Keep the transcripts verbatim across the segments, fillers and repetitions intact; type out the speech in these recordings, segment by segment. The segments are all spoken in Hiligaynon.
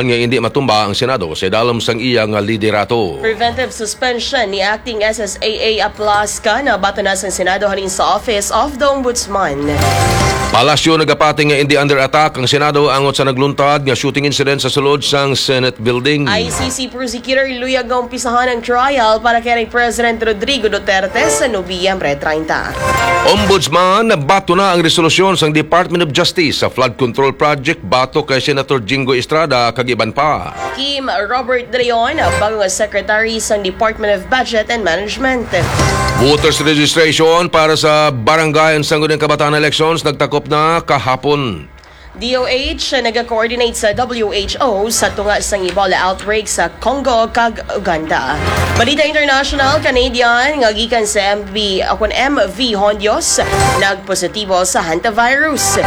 nga indi matumba ang Senado sa idalom sang iya nga liderato. Preventive suspension ni Acting S S A A Aplasca nabaton na sang Senado halin sa Office of the Ombudsman. Palasyo nagapati nga indi under attack ang Senado angot sa nagluntad nga shooting incident sa sulod sang Senate Building. I C C prosecutor luyag nga umpisahan ang trial para kay President Rodrigo Duterte sa Nobyembre treinta. Ombudsman, nabaton na ang resolusyon sang Department of Justice sa flood control project batok kay Senator Jinggoy Estrada kag iban pa. Kim Robert De Leon, bago nga Secretary sang Department of Budget and Management. Voters registration para sa barangay and sangguniang kabataan elections nagtakop na kahapon. D O H nag-coordinate sa W H O sa tunga sang Ebola outbreak sa Congo kag Uganda. Balita international, Canadian nga gikan sa M V, o kun M V Hondios, nagpositibo sa hantavirus.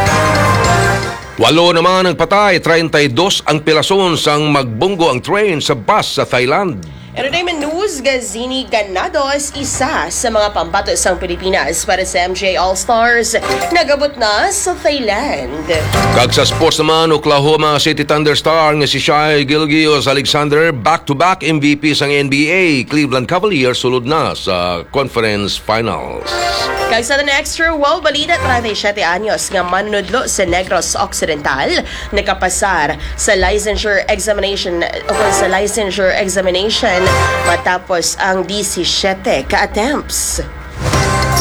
Walo naman ang patay, treinta y dos ang pilason sang magbunggo ang train sa bus sa Thailand. Entertainment news, Gazini Ganados, isa sa mga pambato sang Pilipinas para sa M G A All Stars, nagabot na sa Thailand. Kag sa sports naman, Oklahoma City Thunder star nga si Shai Gilgeous-Alexander, back-to-back M V P sang N B A, Cleveland Cavaliers, sulod na sa Conference Finals. Kag sa the next true wow balita, treinta y siete anyos nga manunudlo sa Negros Occidental nakapasar sa licensure examination o kung sa licensure examination matapos ang disisiete ka attempts.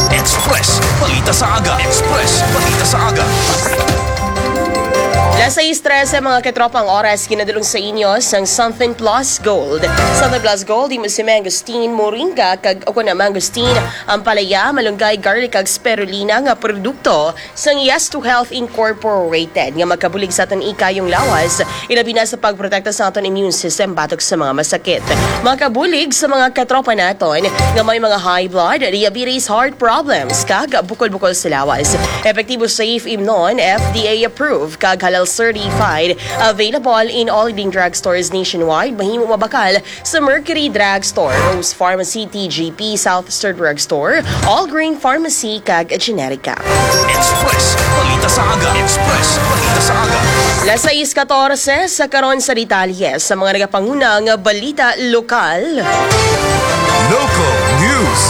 Express Balita sa Aga. Express Balita sa Aga. Las sais trese, mga katropa, ang oras, ginadulong sa inyo sang Something Plus Gold. Something Plus Gold, imo si Mangosteen, moringa, kag o kun na mangosteen, ampalaya, malunggay, garlic, kag spirulina nga produkto sang Yes to Health Incorporated nga makabulig sa aton ikayong lawas, ilabi na sa pagprotekta sa aton immune system batok sa mga masakit. Makabulig sa mga katropa naton nga may mga high blood, diabetes, heart problems, kag bukol-bukol sa lawas. Epektibo, safe, imnon, F D A approved, kag halal certified. Available in all leading drugstores nationwide. Mahimo mabakal sa Mercury Drugstore, Rose Pharmacy, T G P, South Star Drugstore, All Green Pharmacy, kag Generica. Express Balita sa Aga. Express Balita sa Aga. Las sais katorse sa karon sa detalye sa mga nagapangunang balita lokal. Local News.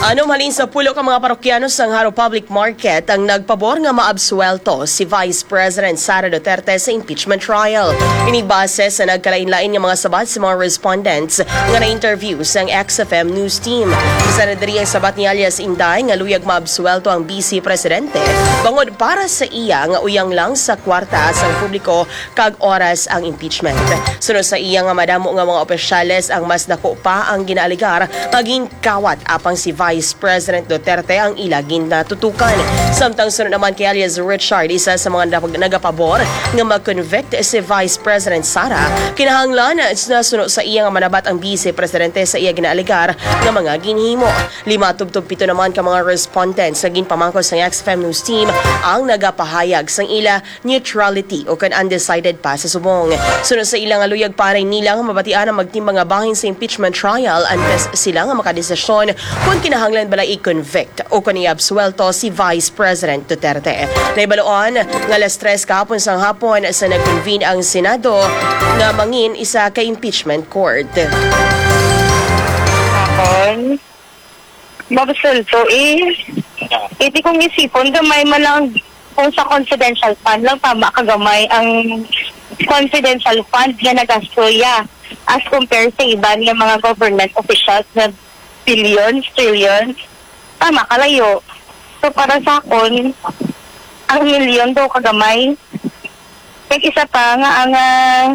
Anom halin sa pulo ka mga parokyano sang Jaro Public Market ang nagpabor nga maabsuwelto si Vice President Sara Duterte sa impeachment trial. Ini base sa nagkalain-lain nga mga sabat sa mga respondents nga na-interview sang X F M News Team. Isa na diri ang sabat ni alias Inday nga luyag maabsuwelto ang Vice Presidente bangod para sa iya nga uyang lang sa kwarta sang publiko kag oras ang impeachment. Suno sa iya nga madamo nga mga opisyales ang mas dako pa ang ginaalegar nga ginkawat, apang si Vice President Duterte ang ila ginatutukan. Samtang suno naman kay alias Richard, isa sa mga nag-, nagapabor nga mag-convict si Vice President Sara, kinahanglan na suno sa iya nga manabat ang Vice Presidente sa iya ginaalegar nga mga ginhimo. Lima tubtob pito naman ka mga respondents nga ginpamangkot sang X F M News Team ang nagapahayag sang ila neutrality o kon undecided pa sa subong. Suno sa ila nga luyag, paray nila nga mabatian ang magtimbang nga bahin sa impeachment trial antes sila nga makadesisyon kon kinahanglan bala i-convict o kon iabsuwelto si Vice President Duterte. Nahibaluan nga alas tres kahapon sang hapon sa nag-convene ang Senado nga mangin isa ka impeachment court. Hapon. Mabsulto eh. Iti kong isipon, gamay man lang kung sa confidential fund lang, tama ka gamay ang confidential fund nga nagasto ya as compare sa iban nga mga government officials nga billions, trillions. Tama ka layo. So para sa akon, ang milyon daw kagamay. Kag isa pa nga ang, ah,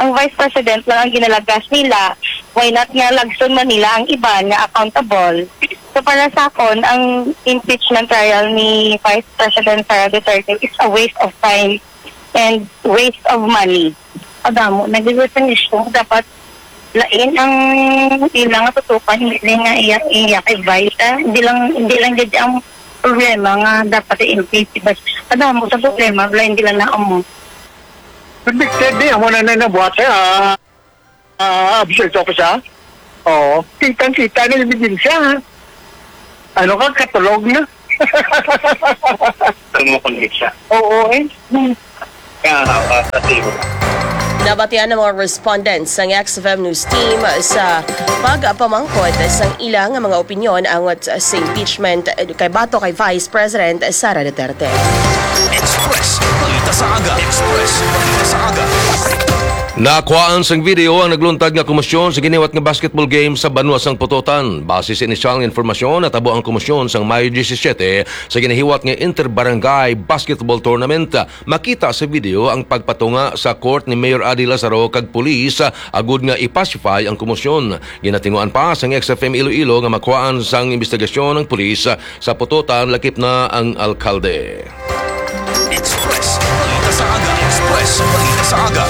ang Vice President lang ang ginalagas nila, why not nga lagson man nila ang iban nga accountable? So para sa akon, ang impeachment trial ni Vice President Sara Duterte is a waste of time and waste of money. Kadamo na gid sa isyu. Dapat lain ang ila nga tutukan, hindi nga iya, iya kay Vice, ah. Hindi lang, hindi lang gid ang problema nga dapat i-impeach si Vice. Kadamo sa problema, wala, hindi lang na amo. Convicted di, amo na na nabuhat siya, ah, ah, absent ako siya. Oo, kitang-kita na yung ebidensya. Ano ka, katulog na? Ano mo convict siya? Oo, eh. Nabatian ang mga respondents sang X F M News Team sa pagpamangkot sang ila nga mga opinyon angot sa impeachment kay batok kay Vice President Sara Duterte. Express Balita sa Aga. Express Balita sa Aga. Nakuhaan sang video ang nagluntad nga komosyon sa giniwat nga basketball game sa banwa sang Pototan. Base sa inisyal nga informasyon, natabo ang komosyon sang Mayo disisiete sa ginahiwat nga inter-barangay basketball tournament. Makita sa video ang pagpatunga sa court ni Mayor Adi Lazaro kag pulis, ah, agud nga i-pacify ang komosyon. Ginatinguan pa sang X F M Iloilo nga makuhaan sang imbestigasyon ang pulis, ah, sa Pototan, lakip na ang alkalde. Express Balita sa Aga. Express Balita sa Aga.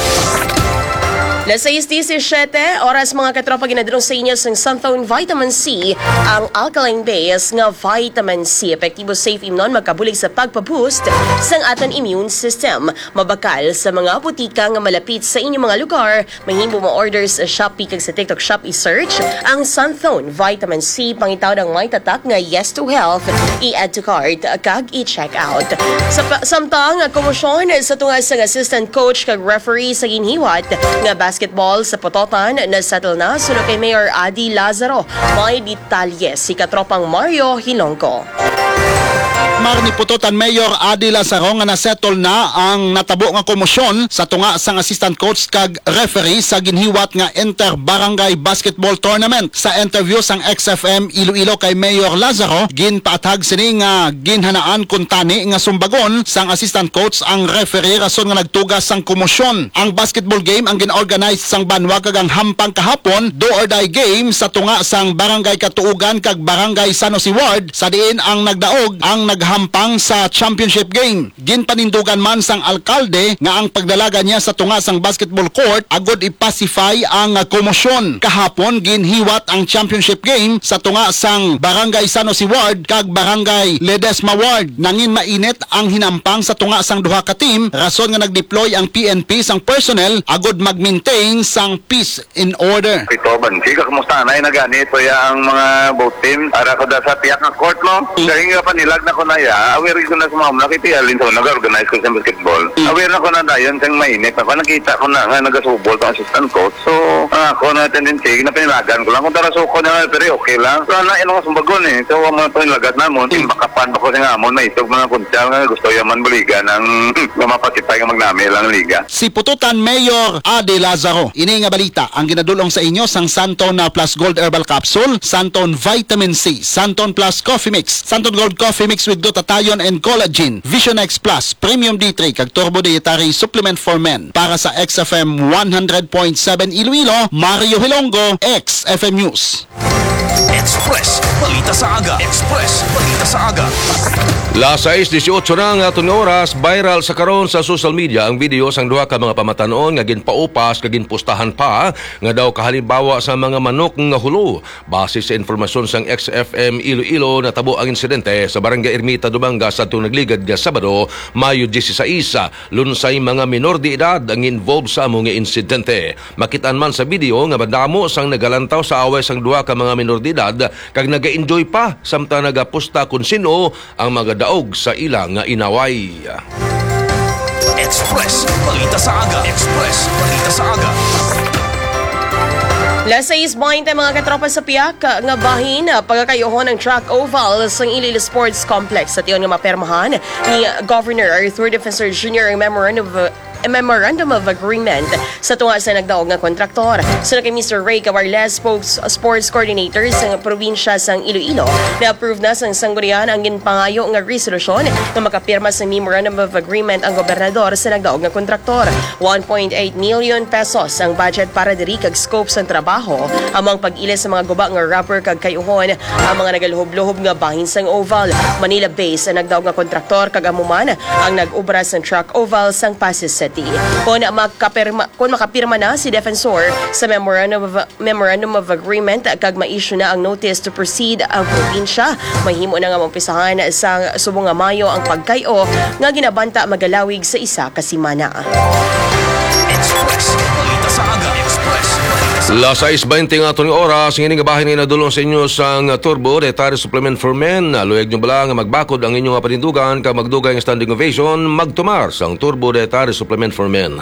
Las sais disisiete oras, mga katropa, ginadulong sa inyo sang Santhone Vitamin C, ang alkaline base nga vitamin C. Epektibo, safe imnon, magkabulig sa pagpa-boost sang aton immune system. Mabakal sa mga butika nga malapit sa inyong mga lugar. Mahimo mo-order sa Shopee kag sa TikTok Shop. I-search ang Santhone Vitamin C. Pangitaw ang may tatak nga Yes to Health. I-add to cart kag i-check out. Sa pa- samtang komosyon sa tunga sang assistant coach kag referee sa ginhiwat nga basketball sa Pototan, na-settle na suno kay Mayor Adi Lazaro. May detalye si katropang Mario Hilonggo. Mar ni Pototan Mayor Adi Lazaro nga na-settle na ang natabo nga komosyon sa tunga sang assistant coach kag referee sa ginhiwat nga inter-barangay basketball tournament. Sa interview sang X F M Iloilo kay Mayor Lazaro, ginpaathag sini nga ginhanaan kuntani nga sumbagon sang assistant coach ang referee rason nga nagtuga sang komosyon. Ang basketball game ang gin-organize sang banwa kag ang hampang kahapon, do or die game sa tunga sang Barangay Katuogan kag Barangay San Jose Ward, sa diin ang nagdaog ang naghampang sa championship game. Ginpanindugan man sang alkalde nga ang pagdalagan niya sa tunga sang basketball court agud i-pacify ang komosyon. Kahapon, ginhiwat ang championship game sa tunga sang Barangay San Jose Ward kag Barangay Ledesma Ward. Nangin mainit ang hinampang sa tunga sang duha ka team, rason nga nag-deploy ang P N P sang personnel agud mag-maintain sang peace in order. Pito, Bansi, kakumusta na? Ay, nagani, so ya ang mga both team. Ara ko da sa tiyak nga court, no? Mm. Kaya nga panilag na ko na ya, aware ko na sa mga muna, kaya tiya, Linson, nag-organize ko sa basketball. Mm. Aware na ko na dayon, sa mainit ako, nakita ko na nga nagasubol ang assistant coach. So, ang ako na tendency, napanilagan ko lang. Kung tara suko na, pero okay lang. So, na, yun ang sumbagon eh. So, ang mga panilagat namon, Mm. imbakapan pa ko sa nga amon, maitog mga kunsyal nga gusto yaman buligan ang nga mapasipay nga magnami lang liga. Si Pututan Mayor Ade Lazaro. Ini nga balita ang ginadulong sa inyo sang Santon na Plus Gold Herbal Capsule, Santon Vitamin C, Santon Plus Coffee Mix, Santon Gold Coffee Mix with Glutathione and Collagen, Vision X Plus, Premium D three, kag Turbo Dietary Supplement for Men. Para sa X F M one hundred point seven Iloilo, Mario Hilonggo, X F M News. Express Balita sa Aga. Express Balita sa Aga. Las sais dieciocho na nga aton nga oras, viral sa karon sa social media ang video sang duha ka mga pamatanon nga ginpaupas kag ginpustahan pa nga daw kahalimbawa sa mga manok nga hulo. Base sa informasyon sang X F M Iloilo, natabo ang insidente sa Barangay Ermita, Dumangas, adtong nagligad nga Sabado, Mayo dieciséis. Lunsay mga minor de edad ang involved sa amo nga insidente. Makit-an man sa video nga madamo sang nagalantaw sa away sang duha ka mga minor de edad kag naga-enjoy pa samtang nagapusta kon sin-o ang magadaog sa ila nga inaway. Express Balita sa Aga. Express Balita sa Aga. Las sais baynte, mga katropa, sa piyak nga bahin, pagakayuhon ang track oval sa Iloilo Sports Complex. Sa tion nga mapermahan ni Governor Arthur Defensor Junior ang Memorandum of, Memorandum of Agreement sa tunga sa nagdaog nga kontraktor. Suno kay Mister Ray Cabarles, spokes-, sports coordinator sa probinsya sang Iloilo, na-approve na sang sanggunian ang ginpangayo nga resolusyon nga makapirma sa Memorandum of Agreement ang gobernador sa nagdaog nga kontraktor. One point eight million pesos ang budget para diri kag scope sang trabaho, amo ang pag-ilis sa mga guba nga rubber kag kayuhon ang mga nagaluhob-luhob nga bahin sang oval. Manila-based ang nagdaog nga kontraktor kag amo man ang nag-obra sang track oval sang Passi City. Kon makapirma, kon makapirma na si Defensor sa Memorandum of, Memorandum of Agreement kag ma-issue na ang notice to proceed ang probinsya, mahimo na nga maumpisahan sa subong nga Mayo ang pagkay-o nga ginabanta magalawig sa isa ka semana. Express Balita sa Aga. Express Balita Las sais baynte nga aton nga oras, ngini nga bahin nga nadulong sa inyo sang Turbo Dietary Supplement for Men. Luyag nyo bala nga magbakod ang inyo nga panindugan kag magdugay ang standing ovation? Magtumar sang Turbo Dietary Supplement for Men.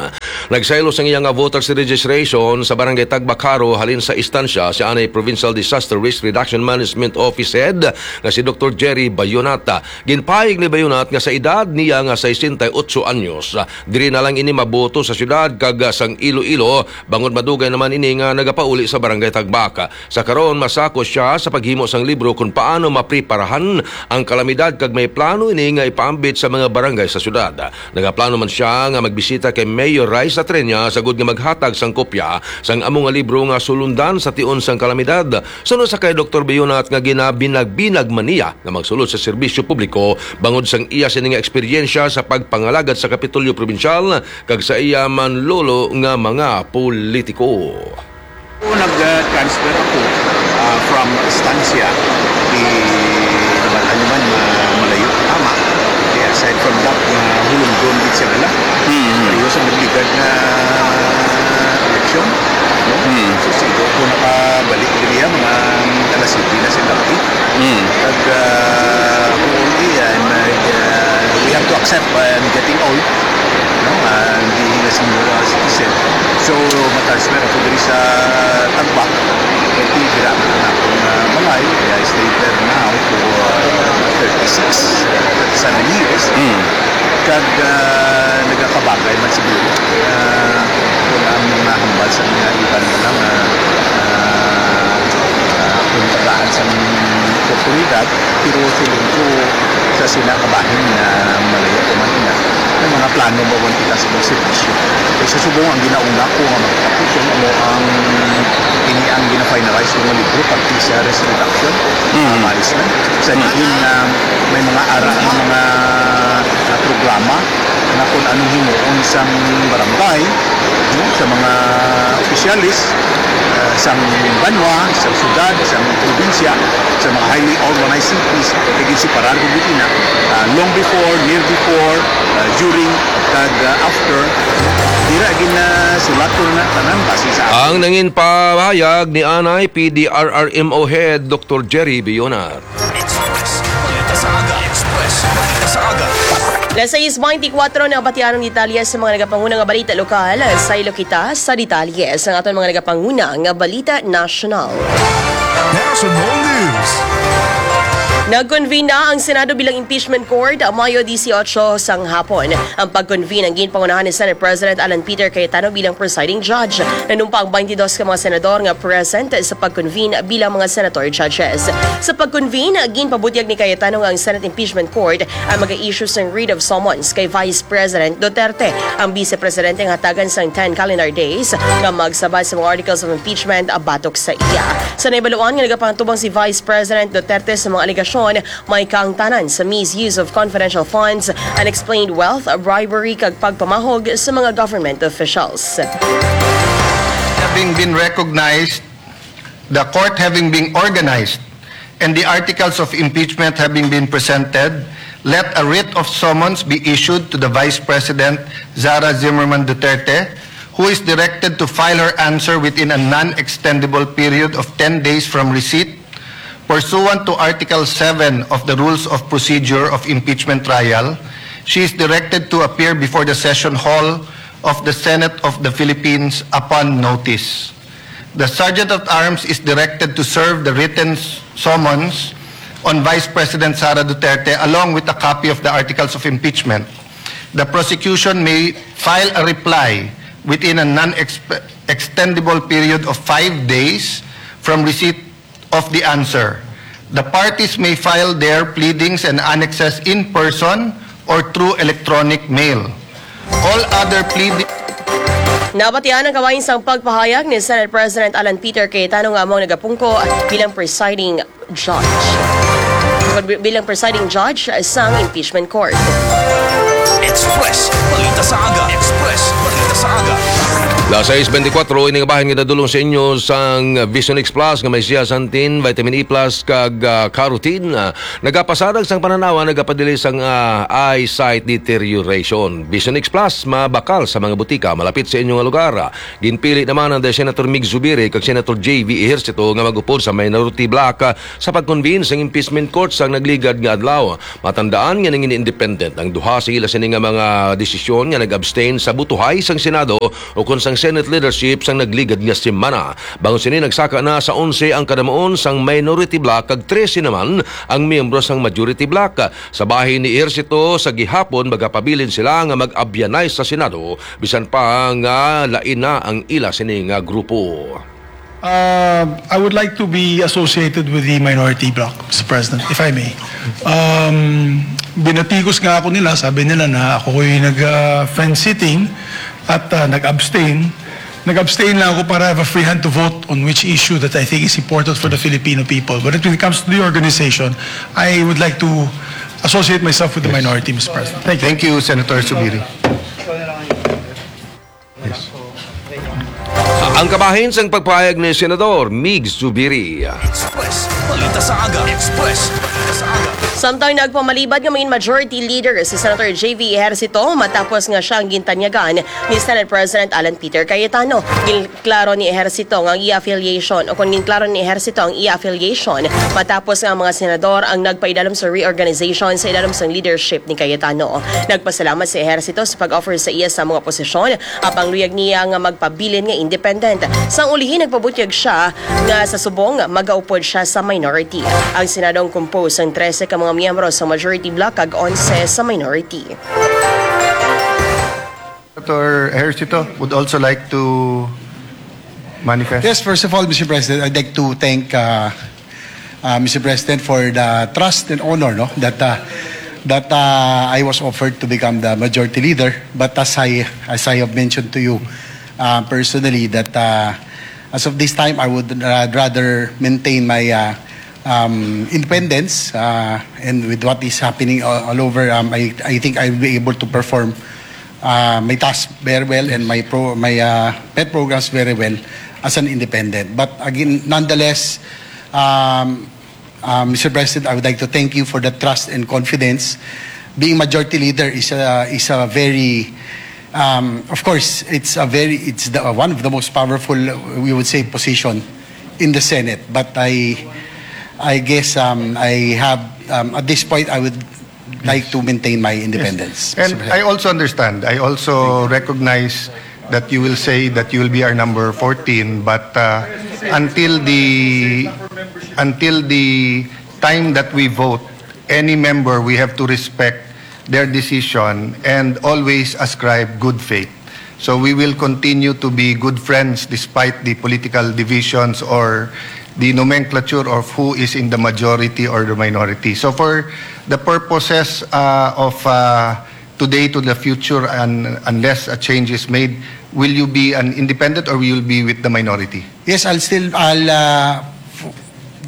Nagsaylo sang iya nga voter registration sa Barangay Tagbakaro halin sa istansya si anay Provincial Disaster Risk Reduction Management Office Head nga si Doktor Jerry Bayonata. Ginpahayag ni Bayonat nga sa edad niya nga sesenta y ocho anyos, diri na lang ini maboto sa syudad kag sang Iloilo, bangod madugay naman ini nga nagapauli sa Barangay Tagbak. Sa karon, masako siya sa paghimo sang libro kon paano mapreparahan ang kalamidad kag may plano ini nga ipaambit sa mga barangay sa syudad. Nagaplano man sia nga magbisita kay Mayor Rai Satrenia sagod nga maghatag sang kopya sang amo nga libro nga sulundan sa tion sang kalamidad. Suno sa kay Doktor Bayonat nga ginabinag-binag man niya nga magsulod sa serbisyo publiko bangod sang iya sini nga eksperyensya sa pagpangalagad sa Kapitolyo Probinsyal kag sa iya manlolo nga mga politiko. Nag-transfer ako, ah, from Estancia, di naman ano man, ma-, malayo, tama. Kaya aside from that, nga hulunggon gid siya bala. Mm. Pareho sa nagligad nga eleksyon, no? Mm. So, siguro ko nakabalik diri, ah, mga alas siyete na sa gabi. Mm. Kag, ah, ako, eh, I'm, uh, uh, we have to accept, uh, I'm getting old, no? Ah, hindi na senior citizen. So, ma-transfer ako diri sa Tagbak. Kay dira na ang akong, ah, balay. I stayed there now for, uh, thirty-six, thirty-seven years. Mm. Kag, ah, nagakabagay man siguro. Ah, kung ang mga hambal sa mga iban na lang, ah, ah, kung tagaan sa oportunidad, pero feeling ko sa sina kabahin nga malayo ko man ina, may mga plano ba man kita sa mga servisyo. Kay sa subong ang ginauna ko nga magtapos yung amo ang ini ang gina-finalize ko nga libro, pati sa risk reduction, Mm. ah, management. Sa Mm. diin nga may mga ara nga mga, ah, programa nga kung anong himuon sang barangay, no, sa mga opisyalis, ah, sang banwa, sa syudad, sa probinsya, sa mga highly organized cities, kay ginseparar ko gid ina, ah, long before, near before, ah, during, kag, ah, after. Dira gina sulat ko na tanan base sa Ang nangin pahayag ni anay P D R R M O Head Doktor Jerry Bionar. Express. Balita sa aga. Express. Balita sa aga. Las sais baynte kuwatro na, batian ang detalye sa mga nagapanguna nga balita lokal. Saylo kita sa detalye sa aton mga nagapanguna nga balita nasyonal. National News. Nag-convene na ang Senado bilang impeachment court, Mayo dieciocho sang hapon. Ang pag-convene ang ginpangunahan ni Senate President Alan Peter Cayetano bilang presiding judge. Nanumpa ang baynte dos ka mga senador nga present sa pag-convene bilang mga senator judges. Sa pag-convene, ginpabutyag ni Cayetano nga ang Senate Impeachment Court ang mag-issue sang writ of summons kay Vice President Duterte. Ang Vice Presidente nga hatagan sang ten calendar days nga magsabat sa mga articles of impeachment batok sa iya. Sa nahibaluan nga nagapangtubang si Vice President Duterte sa mga alegasyon, may kaangtanan sa misuse of confidential funds, unexplained wealth, bribery, kag pagpamahog sa mga government officials. Having been recognized, the court having been organized, and the articles of impeachment having been presented, let a writ of summons be issued to the Vice President Sara Zimmerman Duterte, who is directed to file her answer within a non-extendable period of ten days from receipt. Pursuant to Article seven of the Rules of Procedure of Impeachment Trial, she is directed to appear before the Session Hall of the Senate of the Philippines upon notice. The Sergeant at Arms is directed to serve the written s- summons on Vice President Sara Duterte along with a copy of the Articles of Impeachment. The prosecution may file a reply within a non-extendable period of five days from receipt of the answer. The parties may file their pleadings and annexes in person or through electronic mail. All other pleadings Nabatian ang kabahin sang pagpahayag ni Senate President Alan Peter Cayetano nga amo ang nagapungko bilang presiding judge. Bilang presiding judge sang impeachment court. Express, balita sa aga. Express, balita sa aga. Alas sais bentikwatro, ini nga bahin nga nadulong sa inyo sang Vision X Plus nga may siya santin, vitamin E plus, kag, ah, carotene. Ah, nagapasarag sang pananawa, nagapadili sang, ah, eyesight deterioration. Vision X Plus, mabakal sa mga butika malapit sa inyo nga lugar. Ginpili naman ang Senator Mig Zubiri kag Senator J V Ejercito nga mag-upod sa minority bloc, ah, sa pag-convene sang impeachment court sang nagligad nga adlaw. Matandaan nga nangin-independent ang duha sa ila sini nga mga desisyon nga nag-abstain sa butuhay sang Senado ukon sang Senate leadership sang nagligad nga semana. Bangod sini, nagsaka na sa onse ang kadamuon sang minority bloc kag trese naman ang miyembro sang majority bloc. Sa bahin ni Ejercito, sa gihapon magapabilin sila nga mag-abyanay sa Senado bisan pa nga lain na ang ila sini nga grupo. Uh, I would like to be associated with the minority bloc, Mister President, if I may. Um, binatigos nga ako nila, sabi nila na ako'y nag, uh, fence sitting at, uh, nag-abstain. Nag-abstain lang ako para I have a free hand to vote on which issue that I think is important for the Filipino people. But when it comes to the organization, I would like to associate myself with the minority, Mister President. Thank you. Thank you, Senator Zubiri. Ang kabahin sang pagpahayag ni Senador Mig Zubiri. Express, balita sa aga. Express, balita sa aga. Samtang nagpamalibad nga main majority leader si Senator J V Ejercito matapos nga siya ang gintanyagan ni Senate President Alan Peter Cayetano. Ginklaro ni Ejercito nga ang iya affiliation, o kung ginklaro ni Ejercito ang iya affiliation matapos nga ang mga senador ang nagpaidalom sa reorganization sa idalom sang leadership ni Cayetano. Nagpasalamat si Ejercito sa pag-offer sa iya sa mga posisyon, apang luyag niya nga magpabilin nga independent. Sang ulihi, nagpabutyag siya nga sa subong magaupod siya sa minority. Ang Senado ang composed sang trese ka mga miyembro sa majority bloc kag onse sa minority. Senator Ejercito would also like to manifest. Yes, first of all, Mister President, I'd like to thank uh, uh, Mister President for the trust and honor, no, that uh, that uh, I was offered to become the majority leader. But as I as I have mentioned to you uh, personally, that uh, as of this time, I would ra- rather maintain my uh, um, independence uh, and with what is happening all, all over, um, I I think I will be able to perform uh, my task very well and my pro my uh, pet programs very well as an independent. But again, nonetheless, um, uh, Mister President, I would like to thank you for the trust and confidence. Being majority leader is a is a very um, of course, it's a very it's the, one of the most powerful, we would say, position in the Senate. But I I guess um, I have um, at this point I would like to maintain my independence. And I also understand, I also recognize that you will say that you will be our number fourteen, but uh, until the until the time that we vote, any member, we have to respect their decision and always ascribe good faith. So we will continue to be good friends despite the political divisions or the nomenclature of who is in the majority or the minority. So for the purposes uh, of uh, today to the future, and unless a change is made, will you be an independent or will you be with the minority? Yes, I'll still I'll uh, f-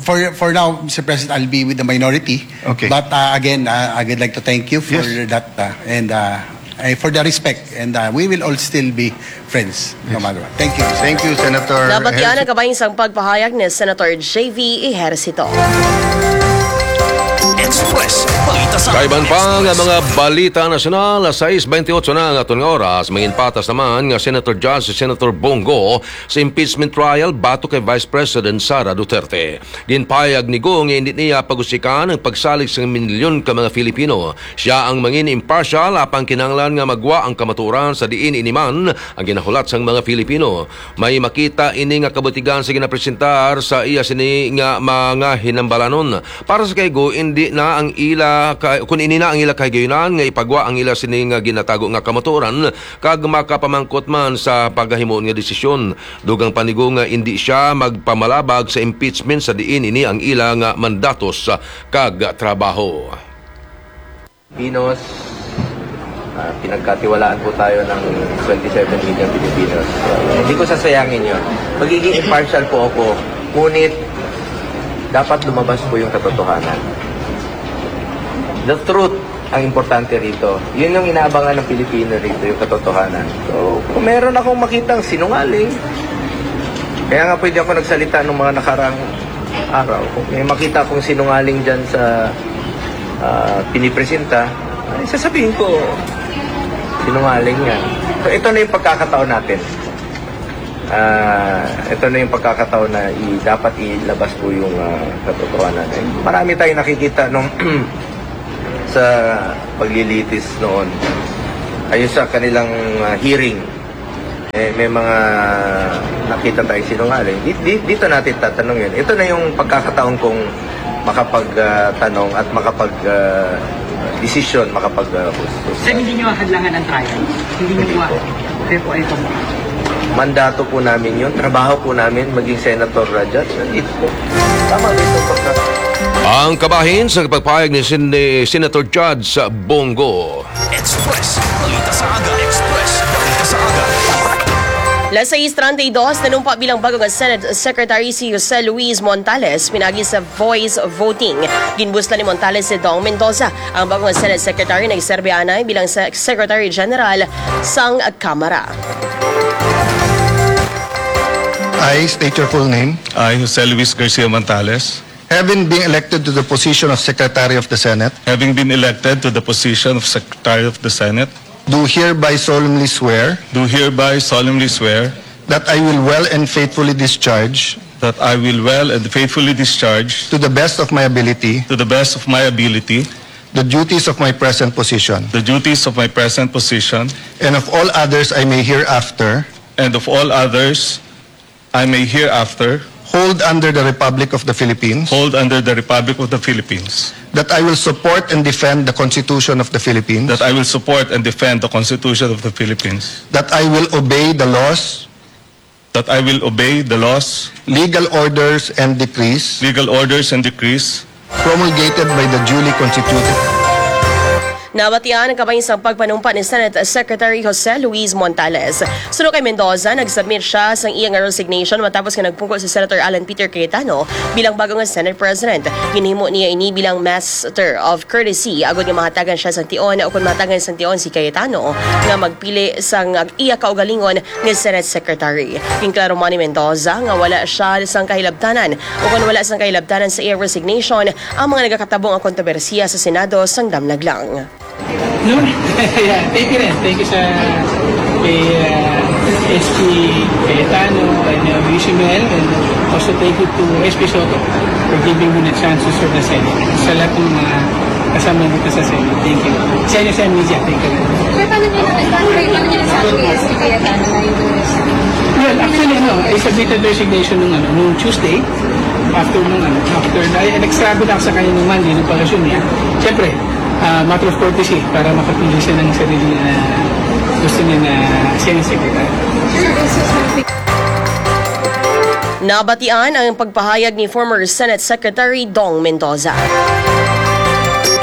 for for now, Mister President, I'll be with the minority. Okay. But uh, again, uh, I would like to thank you for Yes. that uh, and uh, eh, for the respect, and uh, we will all still be friends no matter what. Thank you. Thank you, Senator. Dapat yan ang Ejercito. Kabahin sang pagpahayag ni Senator J V Ejercito. Express. Balita sa Kaiban pa nga Express. Mga balita nasyonal, sais bentiocho na ang aton nga oras. Manginpatas naman nga Senator Judge si Senator Bongo sa impeachment trial batok kay Vice President Sara Duterte. Ginpahayag ni Go nga hindi niya pagusikan ang pagsalig sa milyon ka mga Filipino. Siya ang mangin impartial, apang kinahanglan nga magwa ang kamatuoran sa diin ini man ang ginahulat sang mga Filipino. May makita ini nga kabutigan sa ginapresentar sa iya sini nga mga hinambalanon. Para sa kay Go, hindi na ang ila ka, kun ini na ang ila kahigayunan nga ipagwa ang ila sini nga ginatago nga kamatuoran kag makapamangkot man sa pagahimuon nga desisyon. Dugang pa ni Go nga indi siya magpamalabag sa impeachment sa diin ini ang ila nga mandatos kag trabaho. Filipinos, ah, pinagkatiwalaan po tayo ng twenty-seven million Filipinos. Hindi ko sasayangin yun. Magiging impartial po ako, ngunit dapat lumabas po yung katotohanan. The truth Ang importante rito, yun yung inaabangan ng Pilipino rito, yung katotohanan. So, kung meron akong makitang sinungaling, kaya nga pwede ako nagsalita nung mga nakarang araw. Kung may makita akong sinungaling dyan sa ah, pinipresenta, ay sasabihin ko, sinungaling yan. So, ito na yung pagkakataon natin. Ah, ito na yung pagkakataon na i- dapat ilabas po yung ah, katotohanan. Eh, marami tayong nakikita nung sa paglilitis noon. Ayun sa kanilang ah, hearing, eh, may mga nakita tayong sinungaling. Di, di, dito natin tatanungin. Ito na yung pagkakataon kong makapagtanong at makapag ah, desisyon, makapag ah, hus- hus- Sir, hindi nyo hadlangan ang trial? Hindi nyo Hindi kuha? po. Kayo po ay pamukha. Mandato po namin yun, trabaho po namin, maging senator uh, judge. Nandito po. Tama ba ito pagka- Ang kabahin sa pagpahayag ni Sen- ni Senator Judge Bongo. Express. Balita sa aga. Express. Balita sa aga. Las sais treinta y dos, nanumpa bilang bago nga Senate Secretary si Jose Luis Montales pinagi sa voice voting. Ginbuslan ni Montales si Dong Mendoza, ang bago nga Senate Secretary, nagserbe anay bilang se- Secretary General sang Kamara. I state your full name. I, Jose Luis Garcia Montales. Having been elected to the position of Secretary of the Senate, Having been elected to the position of Secretary of the Senate, do hereby solemnly swear do hereby solemnly swear that I will well and faithfully discharge that I will well and faithfully discharge to the best of my ability to the best of my ability the duties of my present position the duties of my present position and of all others I may hereafter and of all others I may hereafter hold under the Republic of the Philippines, hold under the Republic of the Philippines, that I will support and defend the Constitution of the Philippines, that I will support and defend the Constitution of the Philippines, that I will obey the laws, that I will obey the laws, legal orders, and decrees legal orders, and decrees promulgated by the duly constituted. Nabatian ang kabahin sang pagpanumpa ni Senate Secretary Jose Luis Montales. Suno kay Mendoza, nag-submit siya sang iya nga resignation matapos nga nagpungko si Senator Alan Peter Cayetano bilang bago nga Senate President. Ginhimo niya ini bilang master of courtesy agod nga mahatagan siya sang tion, o kon mahatagan sang tion si Cayetano nga magpili sang iya kaugalingon nga Senate Secretary. Ginklaro man ni Mendoza nga wala siya sang kahilabtanan o kon wala sang kahilabtanan sa iya resignation ang mga nagakatabo nga kontrobersiya sa Senado sang damlag lang. No? Yeah, thank you rin. Thank you sa kay uh, S P Cayetano and uh, Luis Mel, and also thank you to S P Soto for giving me the chance to serve the Senate. Sa lahat ng mga kasama dito sa Senate, thank you. Sa inyo sa media, thank you. Sir, paano niyo na, paano kayo, paano niyo nasabi kay S P Cayetano na yung Well, actually, ano, I submitted resignation nung, ano, nung Tuesday, after nung, ano, after, ay, nag-struggle ako sa kanya nung Monday, nung pag-assume niya. Siyempre, ah, matter of courtesy para makapili siya ng sarili na gusto niya na Senate Secretary. Nabatian ang pagpahayag ni former Senate Secretary Dong Mendoza.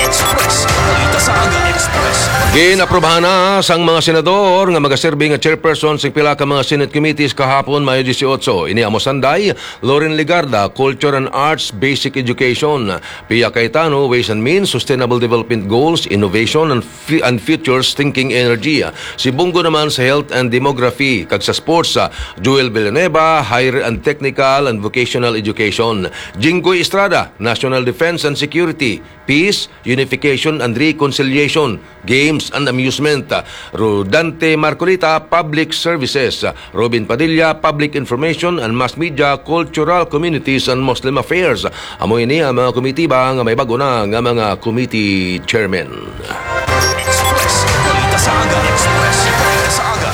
Express. Balita sa Aga Express. Ginaprobahan na sang mga senador nga magaserbi nga chairperson sa pila ka mga Senate committees kahapon, Mayo dieciocho. Ini amo sanday, Loren Legarda, Culture and Arts, Basic Education. Pia Cayetano, Ways and Means, Sustainable Development Goals, Innovation and, Fu- and Futures Thinking Energy. Si Bongo naman sa Health and Demography, kag sa Sports, ah, Joel Villanueva, Higher and Technical and Vocational Education. Jinggoy Estrada, National Defense and Security, Peace, Unification and Reconciliation, Games and Amusement. Rodante Marcolita, Public Services. Robin Padilla, Public Information and Mass Media, Cultural Communities and Muslim Affairs. Amo ini ang mga komitiba nga may bag-o na nga mga committee chairman. Express. Balita sa Aga. Express. Balita sa Aga.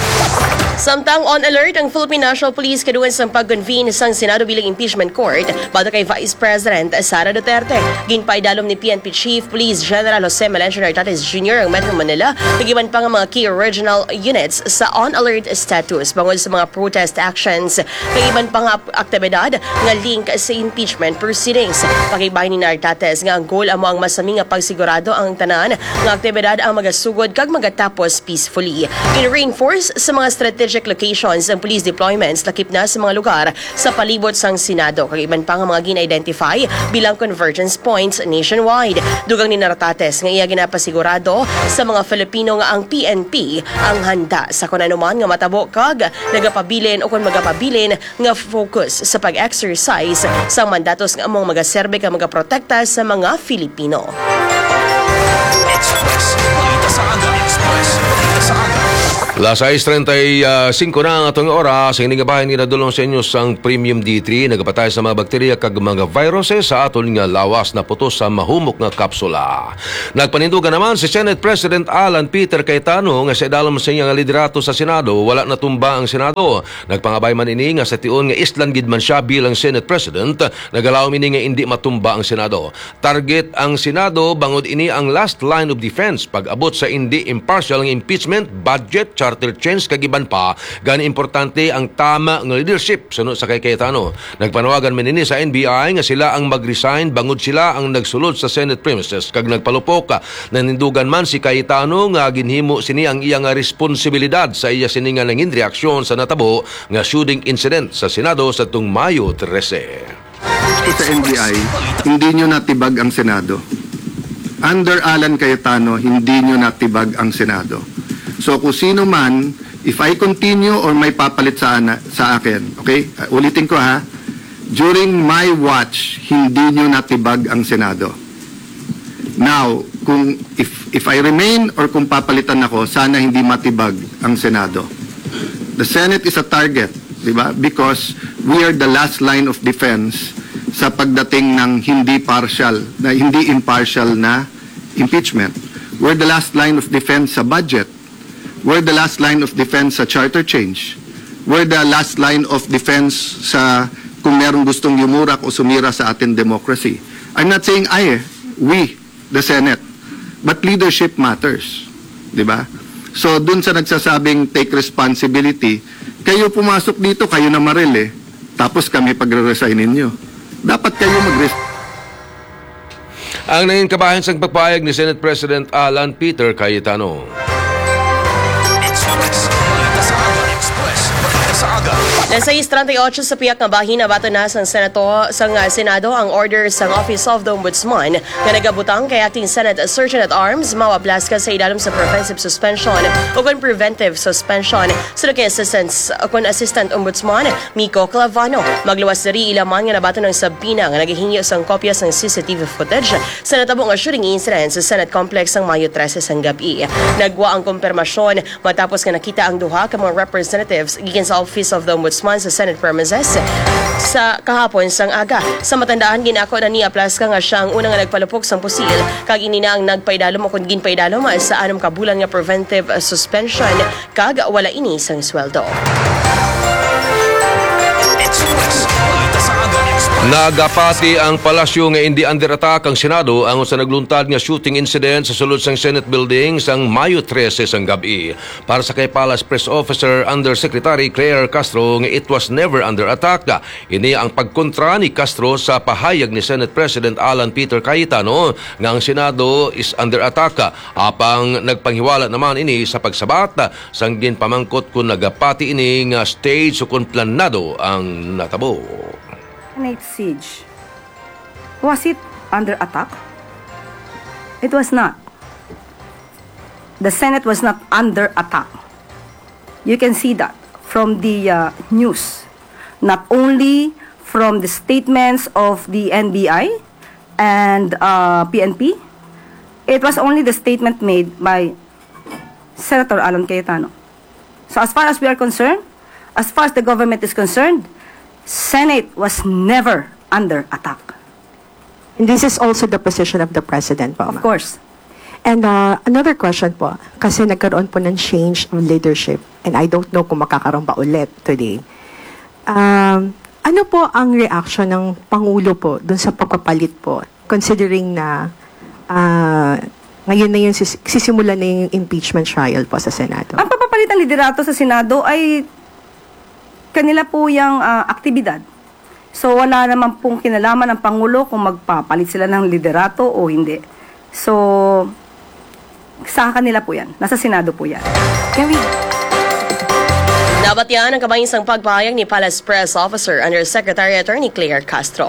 Samtang on alert ang Philippine National Police kaduol sang pag-convene sang Senado bilang impeachment court batok kay Vice President Sara Duterte. Ginpaidalom ni P N P Chief Police General Jose Melencio Nartates Junior ang Metro Manila, kag iban pa nga mga key regional units sa on alert status bangod sa mga protest actions kag iban pa nga aktibidad nga link sa impeachment proceedings. Pakigbahin ni Nartates nga ang goal amo ang masami nga pagsigurado ang tanan nga aktibidad ang magasugod kag magatapos peacefully. Gin-reinforce sa mga strategic locations ang police deployments lakip na sa mga lugar sa palibot sang Senado, kag iban pa nga mga gin-identify bilang convergence points nationwide. Dugang ni Naratates nga iya ginapasigurado sa mga Filipino nga ang P N P ang handa sa kon ano man nga matabo kag nagapabilin o kon magapabilin nga focus sa pag-exercise sang mandatos nga among magaserbe kag magaprotekta sa mga Filipino. Express. Balita sa aga. Express. Balita sa aga. Las sais treinta y cinco na ang atong oras. Ang ini nga bahin ginadulong sa inyo sang Premium D three, nagapatay sa mga bakterya kag mga viruses sa aton nga lawas, naputos sa mahumok nga kapsula. Nagpanindugan naman si Senate President Alan Peter Cayetano nga sa idalom sa iya nga liderato sa Senado, wala natumba ang Senado. Nagpangabay man ini nga sa tion nga islan gid man siya bilang Senate President, nagalaom ini nga indi matumba ang Senado. Target ang Senado bangod ini ang last line of defense pag-abot sa indi impartial nga impeachment, budget, charter change kag iban pa. Gani importante ang tama nga leadership suno sa kay Cayetano. Nagpanawagan man ini sa N B I nga sila ang mag-resign bangod sila ang nagsulod sa Senate premises kag nagpalupok. Nanindugan man si Cayetano nga ginhimo sini ang iya nga responsibilidad sa iya sini nga nangin reaksyon sa natabo nga shooting incident sa Senado sa tung Mayo trese. Ko sa N B I, hindi nyo natibag ang Senado. Under Alan Cayetano, hindi nyo natibag ang Senado. So kung sino man, if I continue or may papalit sa, ana, sa akin, okay? Uh, ulitin ko ha, during my watch, hindi nyo natibag ang Senado. Now, kung if if I remain or kung papalitan ako, sana hindi matibag ang Senado. The Senate is a target, di ba? Because we are the last line of defense sa pagdating ng hindi partial, na hindi impartial na impeachment. We're the last line of defense sa budget. We're the last line of defense sa charter change. We're the last line of defense sa kung merong gustong yumurak o sumira sa ating democracy. I'm not saying I, eh, we, the Senate. But leadership matters. Di ba? So, dun sa nagsasabing take responsibility, kayo pumasok dito, kayo na maril eh. Tapos kami pagre-resign ninyo. Dapat kayo mag Ang nangin kabahin sang pagpahayag ni Senate President Alan Peter Cayetano. Las sais treinta y ocho sa piyak nga bahin, nabaton na sang Senato, sang, ah, Senado ang order sang Office of the Ombudsman nga nagabutang kay Acting Senate Surgeon at Arms Mao Ablasca sa idalom sa preventive suspension o kon preventive suspension suno kay Assistant, o kon Assistant Ombudsman Mico Clavano. Magluwas diri ila man nga nabaton ang subpoena nga nagahingyo sang kopya sang C C T V footage sa natabo nga shooting incident sa Senate Complex sang Mayo trese sang gab-i. Nagwa ang kompermasyon matapos nga nakita ang duha ka mga representatives gikan sa Office of the Ombudsman sa Senate premises sa kahapon sang aga. Sa matandaan, ginako na ni Ablasca nga siya ang una nga nagpalupok sang pusil, kag ini na ang nagpaidalom o kon ginpaidalom sa anom ka bulan nga preventive suspension, kag wala ini sang sweldo. Nagapati ang palasyo nga indi under attack ang Senado angon sa nagluntad nga shooting incident sa sulod sang Senate Building sang Mayo trese sang gab-i. Para sa kay Palace Press Officer Undersecretary Claire Castro nga it was never under attack. Ini ang pagkontra ni Castro sa pahayag ni Senate President Alan Peter Cayetano nga ang Senado is under attack, apang nagpanghiwala naman ini sa pagsabat sang ginpamangkot kon nagapati ini nga stage o kon planado ang natabo. Senate siege. Was it under attack? It was not. The Senate was not under attack. You can see that from the uh, news, not only from the statements of the N B I and uh, P N P. It was only the statement made by Senator Alan Cayetano. So as far as we are concerned, as far as the government is concerned, Senate was never under attack. And this is also the position of the President po, Of ma'am. Course. And uh, another question po, kasi nagkaroon po ng change of leadership and I don't know kung makakaroon pa ulit today. Um, ano po ang reaction ng Pangulo po dun sa pagpapalit po, considering na uh, ngayon na yung sis- sisimulan na yung impeachment trial po sa Senado? Ang pagpapalit ng liderato sa Senado ay kanila po yung ah, aktibidad. So wala naman pong kinalaman ang Pangulo kung magpapalit sila ng liderato o hindi. So sa kanila po yan. Nasa Senado po yan. Can we Nabatian ang kamay sang pagpahayag ni Palace Press Officer Undersecretary Attorney Claire Castro.